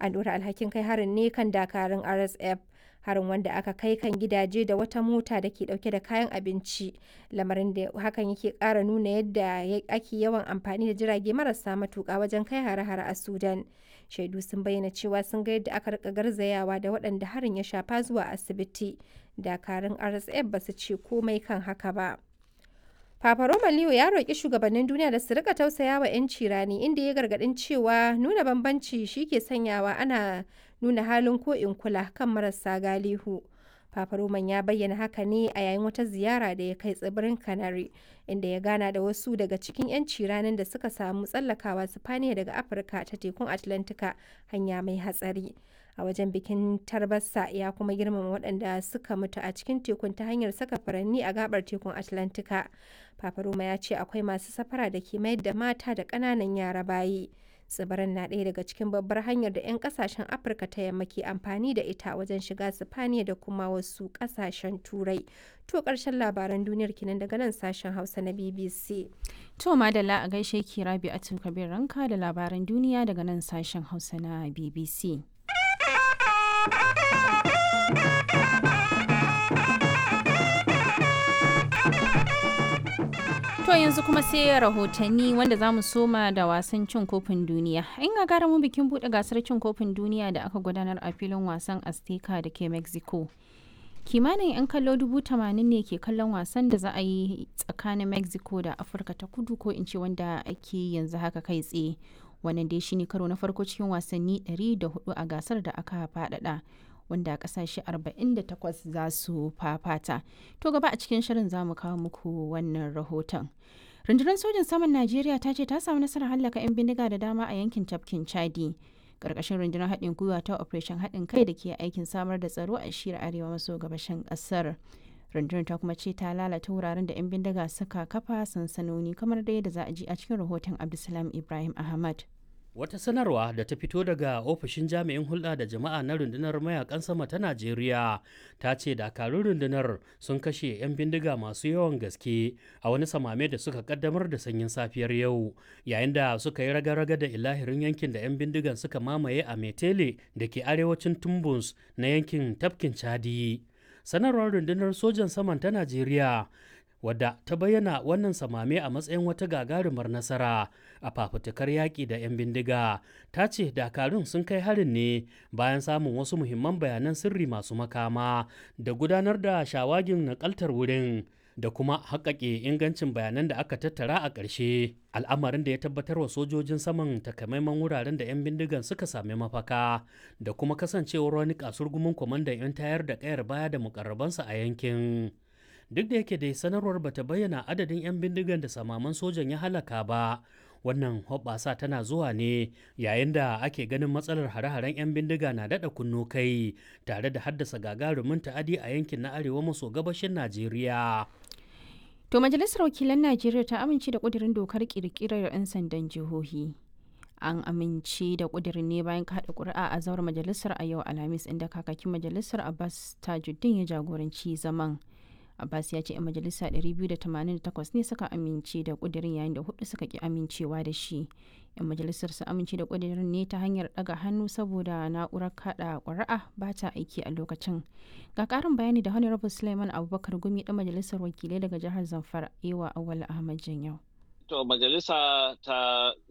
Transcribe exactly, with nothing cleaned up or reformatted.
An ɗora alhakin kai harin ne kan dakarun R S F. Harin wanda aka kai kan gidaje da wata mota da ke dauke da kayan abinci, lamarin da hakan yake kara nuna yadda ake yawan amfani da jirage marasa matuka wajen kai hare-hare a Sudan. Shaidu sun bayyana cewa sun ga yadda aka rika garzayawa da waɗanda harin ya shafa zuwa asibiti. Dakarun R S F ba su ce komai kan haka ba. Papa Roma Leo ya roƙi shugabannin duniya da su rika tausaya wa 'yanci rani, inda ya gargaɗin cewa nuna bambanci shi ke sanyawa ana nuna halin ko in kula kan marasa galihu. Papa Roman ya bayyana haka ne a yayin wata ziyara da ya kai tsibirin Canary, inda ya gana da wasu daga cikin 'yanci ranin da suka samu tsallakawa Sifaniya daga Afirka ta tekun Atlantika, hanya mai hatsari. A wajen bikin tarbarsa, ya kuma girmama waɗanda suka mutu a cikin tekun ta hanyar saka furanni a gabar tekun Atlantika. Papa Roma ya ce akwai masu safara da ke mayar da mata da ƙananan yara bayi. Tsibirin na ɗaya daga cikin babbar hanyar da 'yan ƙasashen Afirka ta Yamma ke amfani da ita wajen shiga Sifaniya da kuma wasu ƙasashen Turai. To, ƙarshen labaran duniyar kenan daga nan sashen Hausa na B B C. To madalla, a gaishe ki Rabi'atu Kabir Ranka da labaran duniya daga nan sashen Hausa na B B C. To yanzu kuma sai rahotanni, wanda za mu soma da wasan cin kofin duniya. In ga mu bikin buɗe gasar cin kofin duniya da aka gudanar a filin wasan Azteca da ke Mexico. Kimanin 'yan kallo dubu tamanin ne ke kallon wasan da za a yi tsakanin Mexico da Afirka ta Kudu, ko in ce wanda ake yanzu haka kai tsaye. Wannan dai shine karo na farko cikin wasanni ɗari da huɗu a gasar da aka faɗaɗa, wanda kasashe arba'in da takwas za su fafata. To, gaba a cikin shirin za mu kawo muku wannan rahoton. Rundunar sojin saman Najeriya ta ce ta samu nasarar hallaka 'yan bindiga da dama a yankin tafkin Chadi, ƙarƙashin rundunar haɗin gwiwa ta Operation Haɗin Kai da ke aikin samar da tsaro a shiyar arewa maso gabashin ƙasar. Rundunar ta kuma ce ta lalata wuraren da 'yan bindiga suka kafa sansanoni, kamar da yadda za a ji a cikin rahoton Abdulsalam Ibrahim Ahmad. Wata sanarwa da ta fito daga ofishin jami'in hulɗa da jama'a na rundunar mayakan sama ta Najeriya ta ce dakarun rundunar sun kashe 'yan bindiga masu yawan gaske a wani samame da suka kaddamar da sanyin safiyar yau, yayin da suka yi raga-raga da ilahirin yankin da 'yan bindigan suka mamaye a Metele da ke arewacin Tumbus na yankin tafkin Chadi. Sanarwar rundunar sojan saman ta Najeriya, wadda ta bayyana wannan samame a matsayin wata gagarumar nasara a fafutukar yaƙi da 'yan bindiga, ta ce dakarun sun kai harin ne bayan samun wasu muhimman bayanan sirri masu makama da gudanar da shawagin nakaltar wurin da kuma haƙaƙe ingancin bayanan da aka tattara a ƙarshe, al'amarin da ya tabbatar wa sojojin saman takamaiman wuraren da 'yan bindigan suka sami mafaka da kuma kasancewar wani kasurgumin kwamandan 'yan tayar da ƙayar baya da mukarrabansa a yankin. Duk da yake dai sanarwar bata bayyana adadin 'yan bindigan da samaman sojan ya halaka ba, wannan hoɓɓasa tana zuwa ne yayin da ake ganin matsalar hare-haren 'yan bindiga na daɗa kunno kai tare da haddasa gagarumin ta'adi a yankin na arewa maso gabashin Najeriya. To, Majalisar Wakilan Najeriya ta amince da ƙudurin dokar ƙirƙirar 'yan sandan jihohi. An amince da ƙudurin ne bayan kaɗa ƙuri'a a zauren majalisar a yau Alhamis, inda kakakin majalisar Abbas Tajuddin ya jagoranci zaman. Abbas ya ce 'yan majalisa ɗari biyu da tamanin da takwas ne suka amince da kudirin, yayin da hudu suka ki amincewa da shi. 'Yan majalisar su amince da kudirin ne ta hanyar daga hannu, saboda na'urar kada ƙuri'a ba ta aiki a lokacin. Ga ƙarin bayani da Honorable Suleiman Abubakar Gumi, ɗan majalisar wakilai daga jihar Zamfara, Ewa Awal Ahmad Janyau. To, majalisa ta